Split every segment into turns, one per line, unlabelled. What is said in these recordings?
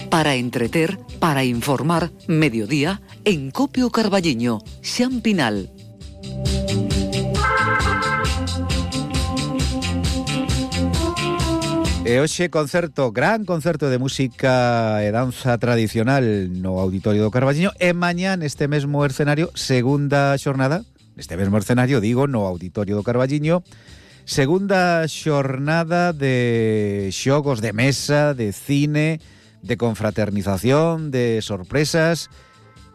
Para entreter, para informar, mediodía, en Copio Carballiño, Xan Pinal.
E hoxe concerto, gran concerto de música e danza tradicional no Auditorio do Carballiño, e mañá neste mesmo escenario, segunda xornada, neste mesmo escenario, digo, no Auditorio do Carballiño, segunda xornada de xogos de mesa, de cine, de confraternización, de sorpresas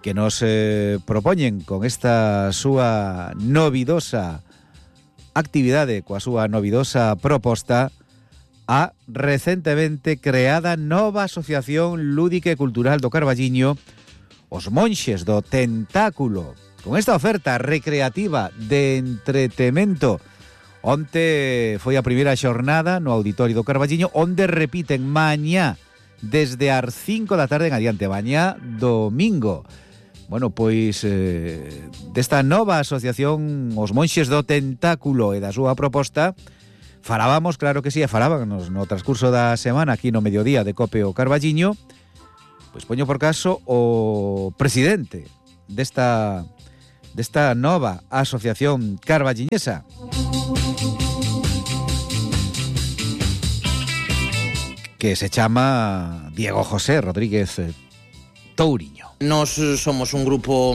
que nos propoñen con esta súa novidosa actividade, coa súa novidosa proposta, a recentemente creada nova asociación lúdica e cultural do Carballiño, os Monxes do Tentáculo, con esta oferta recreativa de entretemento. Onte foi a primeira xornada no Auditorio do Carballiño, onde repiten mañá desde as 5 da tarde en adiante, mañá domingo. Bueno, pois desta nova asociación os Monxes do Tentáculo e da súa proposta falábamos, claro que sí, e falábamos no transcurso da semana aquí no mediodía de Copio Carballiño. Pois poño por caso o presidente desta nova asociación carballiñesa, que se chama Diego José Rodríguez Touriño.
Nos somos un grupo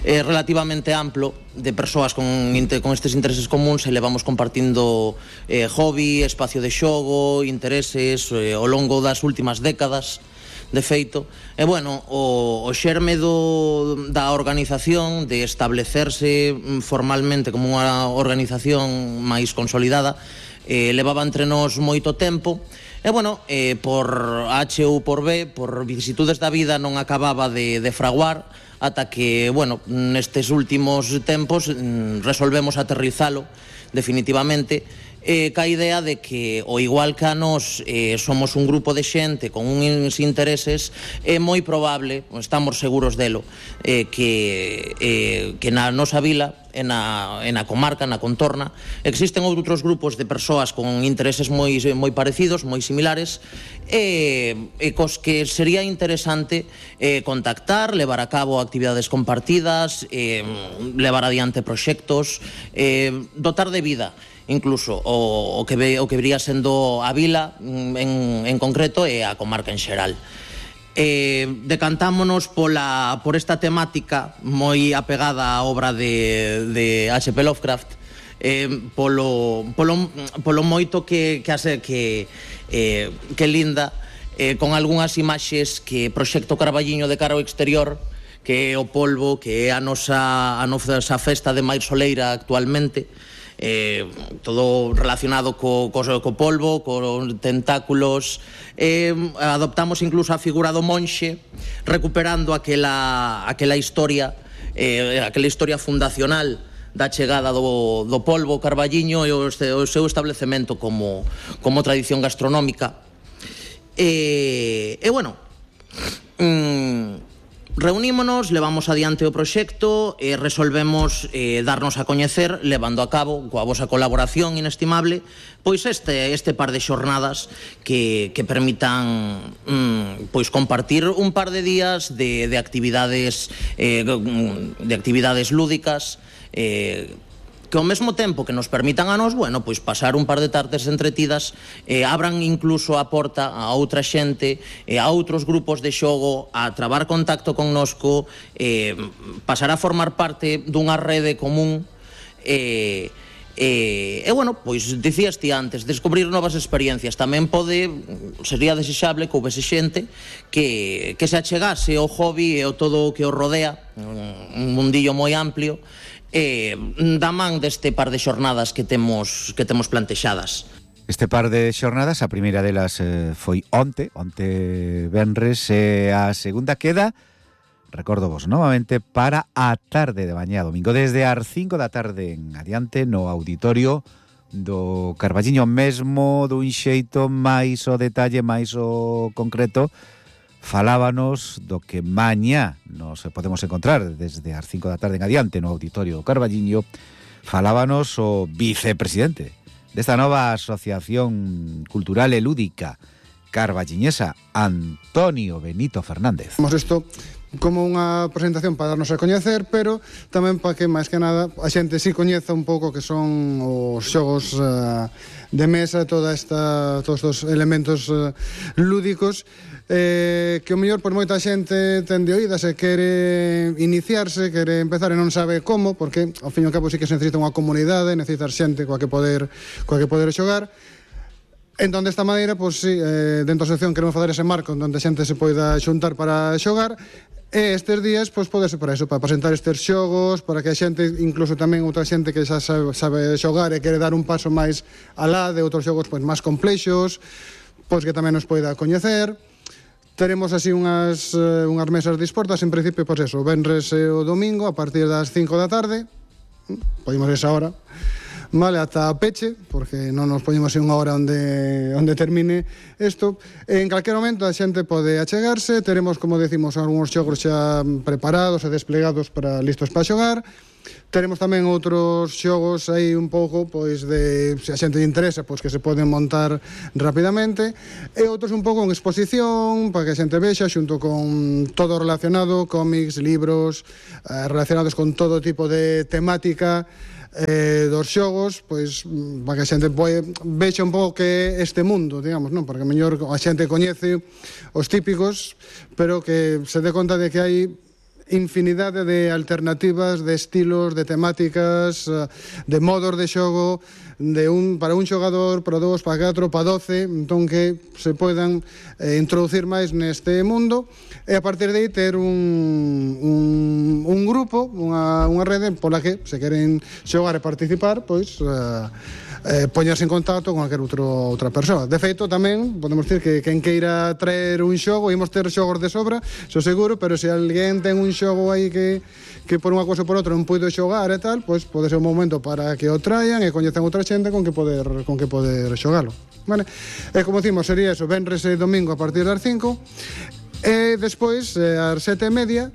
relativamente amplo de persoas con estes intereses comuns e levamos compartindo hobby, espacio de xogo, intereses ao longo das últimas décadas, de feito. E bueno, o xerme da organización, de establecerse formalmente como unha organización máis consolidada, levaba entre nós moito tempo. E bueno, por H ou por B, por vicisitudes da vida, non acababa de fraguar, ata que, bueno, nestes últimos tempos resolvemos aterrizalo definitivamente, ca idea de que, o igual que a nós somos un grupo de xente con uns intereses, é moi probable, estamos seguros delo, que na nosa vila, en a comarca, na contorna, existen outros grupos de persoas con intereses moi parecidos, moi similares, e cos que sería interesante contactar, levar a cabo actividades compartidas, levar adiante proxectos, dotar de vida incluso o que vería sendo a vila en concreto e a comarca en xeral. Decantámonos por esta temática moi apegada á obra de H.P. Lovecraft, polo moito que linda, con algunhas imaxes que proxecto Carballiño de cara ao exterior, que é o polvo, que é a nosa festa de máis soleira actualmente, todo relacionado co polvo, co tentáculos. Adoptamos incluso a figura do monxe, recuperando aquela historia fundacional da chegada do polvo Carballiño e o seu establecemento como tradición gastronómica. Bueno, reunímonos, levamos adiante o proxecto e resolvemos darnos a coñecer, levando a cabo, coa vosa colaboración inestimable, pois este par de xornadas que permitan compartir un par de días de actividades lúdicas, que ao mesmo tempo que nos permitan a nos, bueno, pois pasar un par de tardes entretidas, abran incluso a porta a outra xente, a outros grupos de xogo, a trabar contacto connosco, pasar a formar parte dunha rede común, bueno, pois dicías ti antes, descubrir novas experiencias. Tamén sería desexable que houvese xente que se achegase ao hobby e ao todo o que o rodea, un mundillo moi amplio, da man deste par de xornadas que temos plantexadas.
Este par de xornadas, a primeira delas foi onte venres, e a segunda queda, recordo vos novamente, para a tarde de mañá domingo, desde as 5 da tarde en adiante, no Auditorio do Carballiño, mesmo dun xeito máis o detalle, máis o concreto. Falábanos do que mañá nos podemos encontrar desde as 5 da tarde en adiante no Auditorio do Carballiño. Falábanos o vicepresidente desta nova asociación cultural e lúdica carballiñesa Antonio Benito Fernández.
Temos isto como unha presentación para darnos a coñecer, pero tamén para que, máis que nada, a xente si coñeza un pouco que son os xogos de mesa, todos estes elementos lúdicos, que o mellor por moita xente ten de oídas e quere iniciarse, quere empezar e non sabe como, porque ao fin e ao cabo sí que se necesita unha comunidade, necesitar xente coa que poder xogar. Entón, desta maneira, pois sí, dentro da sección queremos fazer ese marco onde a xente se poida xuntar para xogar. E estes días, pois, pode ser para eso, para presentar estes xogos, para que a xente, incluso tamén outra xente que xa sabe xogar e quere dar un paso máis alá de outros xogos pois máis complexos, pois que tamén nos poida coñecer. Teremos así unhas mesas dispostas, en principio, pois eso, o venres e o domingo, a partir das 5 da tarde, podemos ir esa hora, vale, ata a peche, porque non nos poñemos en unha hora onde termine isto. En calquer momento a xente pode achegarse, teremos, como decimos, algúns xogos xa preparados e desplegados para listos para xogar. Teremos tamén outros xogos aí un pouco, pois, de, se a xente lle interesa, pois que se poden montar rapidamente, e outros un pouco en exposición, para que a xente vexa, xunto con todo relacionado, cómics, libros, relacionados con todo tipo de temática, dos xogos, pois, para que a xente vexa un pouco que este mundo, digamos, non? Porque a mellor a xente coñece os típicos, pero que se dé conta de que hai infinidade de alternativas, de estilos, de temáticas, de modos de xogo, para un xogador, para 2, para 4, para 12, entón que se poidan introducir máis neste mundo, e a partir de aí ter un grupo, unha rede pola que, se queren xogar e participar, pois poñerse en contacto con calquer outra persoa. De feito, tamén podemos dicir que quen queira traer un xogo, imos ter xogos de sobra, xo seguro, pero se alguén ten un xogo aí que por unha cousa ou por outra non puido xogar e tal, pois pode ser un momento para que o traian e coñezan outra xente con que poder xogalo. Vale? E como decimos, sería eso, venres e domingo a partir das 5, e despois, ás 7:30,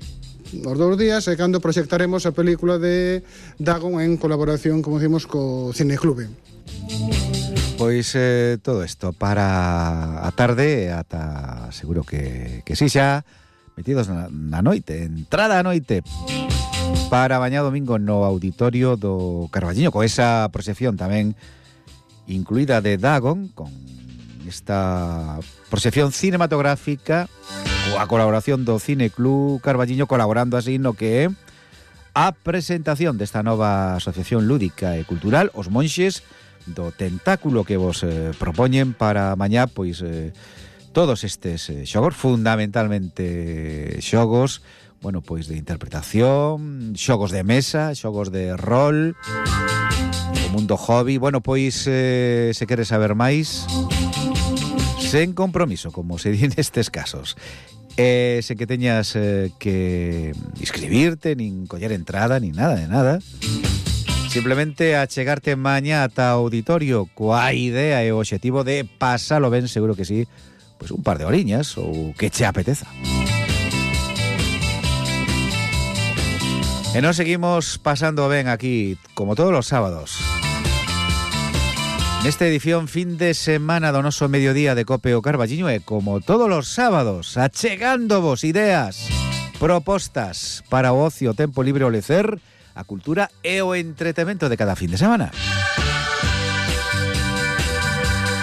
os 2 días, é cando proxectaremos a película de Dagon en colaboración, como decimos, co Cineclube.
Pois todo isto para a tarde, ata seguro que sí xa, metidos na noite, entrada a noite, para mañá domingo no auditorio do Carballiño, con esa proxección tamén incluída de Dagon, con esta proxección cinematográfica, coa colaboración do Cineclub Carballiño, colaborando así no que é a presentación desta nova asociación lúdica e cultural, os Monxes do Tentáculo, que vos propoñen para mañá, pois todos estes xogos, fundamentalmente xogos, bueno, pois de interpretación, xogos de mesa, xogos de rol, o mundo hobby. Bueno, pois se queres saber máis, sen compromiso, como se di nestes casos, sen que teñas que inscribirte, nin coller entrada, nin nada de nada, simplemente achegarte mañá ata o auditorio coa idea e o obxectivo de pasalo ben, seguro que sí, pois un par de horiñas ou que che apeteza. E nos seguimos pasando ben aquí, como todos os sábados, nesta edición fin de semana do noso mediodía de Cope o Carballiño, e como todos os sábados, achegándovos ideas, propostas para o ocio, tempo libre, o lecer, a cultura e o entretemento de cada fin de semana.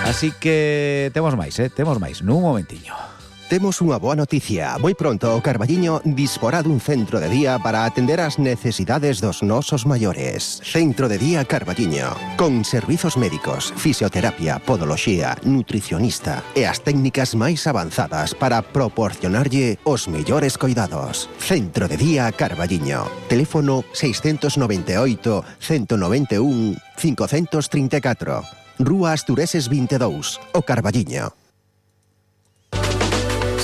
Así que temos máis, nun momentiño.
Temos unha boa noticia. Moi pronto o Carballiño disporá dun centro de día para atender as necesidades dos nosos maiores. Centro de día Carballiño, con servizos médicos, fisioterapia, podoloxía, nutricionista e as técnicas máis avanzadas para proporcionarlle os mellores coidados. Centro de día Carballiño. Teléfono 698 191 534. Rúa Astureses 22, o Carballiño.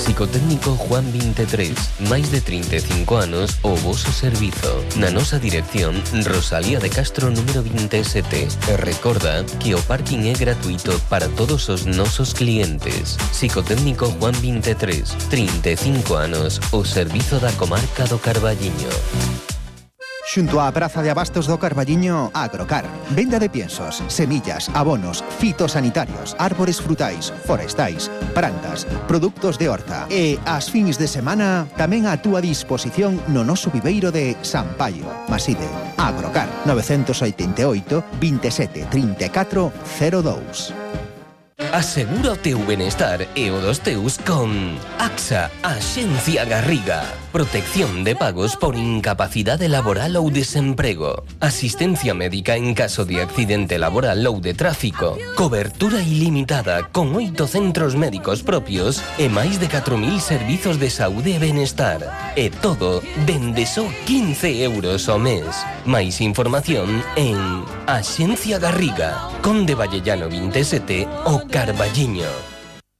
Psicotécnico Juan 23, máis de 35 anos o voso servizo. Na nosa dirección, Rosalía de Castro número 27. E recorda que o parking é gratuito para todos os nosos clientes. Psicotécnico Juan 23, 35 anos, o servizo da comarca do Carballiño.
Xunto á Praza de Abastos do Carballiño, Agrocar. Venda de piensos, semillas, abonos, fitosanitarios, árbores frutais, forestais, plantas, produtos de horta. E ás fins de semana tamén a túa disposición no noso viveiro de San Paio. Maside, Agrocar, 988 27 34 02.
Asegura o teu benestar e o dos teus con AXA, Axencia Garriga. Protección de pagos por incapacidade laboral ou desemprego. Asistencia médica en caso de accidente laboral ou de tráfico. Cobertura ilimitada con 8 centros médicos propios e máis de 4.000 servizos de saúde e benestar. E todo dende só 15 euros ao mes. Máis información en Axencia Garriga, Conde Vallellano 27 o Carballiño.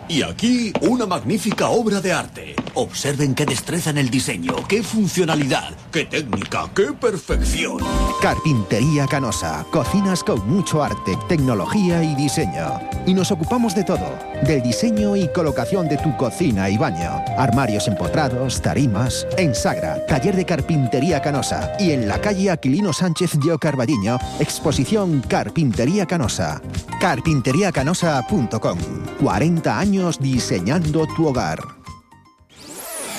Y aquí una magnífica obra de arte. Observen qué destreza en el diseño, qué funcionalidad, qué técnica, qué perfección.
Carpintería Canosa. Cocinas con mucho arte, tecnología y diseño. Y nos ocupamos de todo. Del diseño y colocación de tu cocina y baño. Armarios empotrados, tarimas. En Sagra, taller de Carpintería Canosa. Y en la calle Aquilino Sánchez de Carballiño, exposición Carpintería Canosa. Carpinteriacanosa.com. 40 años diseñando tu hogar.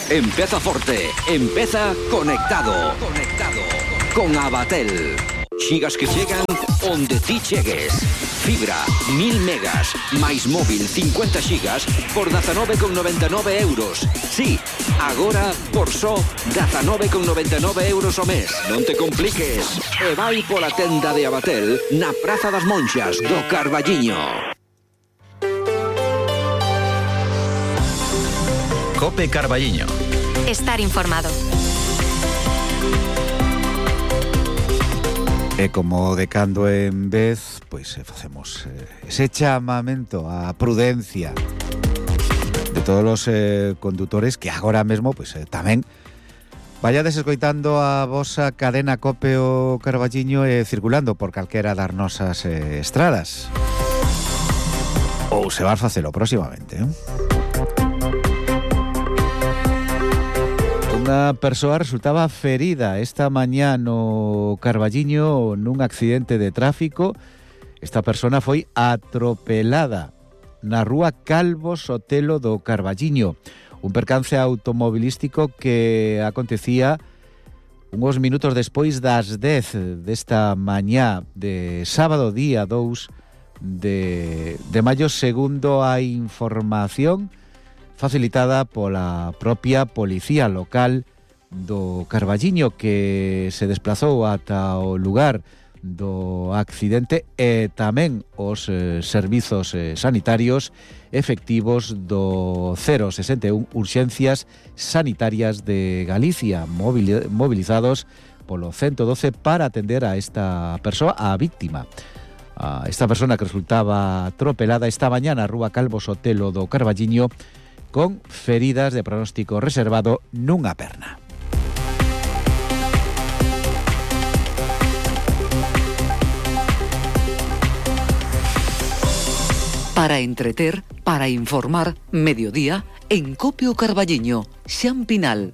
Empieza Forte, empieza conectado. Con Abatel. Xigas que llegan onde ti chegues. Fibra, 1000 megas, máis móvil 50 xigas por 19,99 euros. Sí, agora por só 19,99 euros ao mes. Non te compliques. E vai pola tenda de Abatel na Praza das Monxas do Carballiño.
Cope Carballiño.
Estar informado.
E como de cando en vez, pois facemos ese chamamento á prudencia de todos os condutores que agora mesmo pois tamén vayades escoitando a vosa cadena Cope o Carballiño e circulando por calquera das nosas estradas. Ou se vas facelo próximamente, Unha persoa resultaba ferida esta mañá no Carballiño nun accidente de tráfico. Esta persona foi atropelada na rúa Calvo Sotelo do Carballiño. Un percance automobilístico que acontecía uns minutos despois das 10 desta mañá de sábado, día 2 de maio, segundo a información facilitada pola propia policía local do Carballiño, que se desplazou ata o lugar do accidente, e tamén os servizos sanitarios efectivos do 061 Urxencias Sanitarias de Galicia, movilizados polo 112 para atender a esta persoa, a víctima. A esta persona que resultaba atropelada esta mañá na rúa Calvo Sotelo do Carballiño, con feridas de pronóstico reservado nunha perna.
Para entreter, para informar, mediodía, en Cope o Carballiño, Xan Pinal.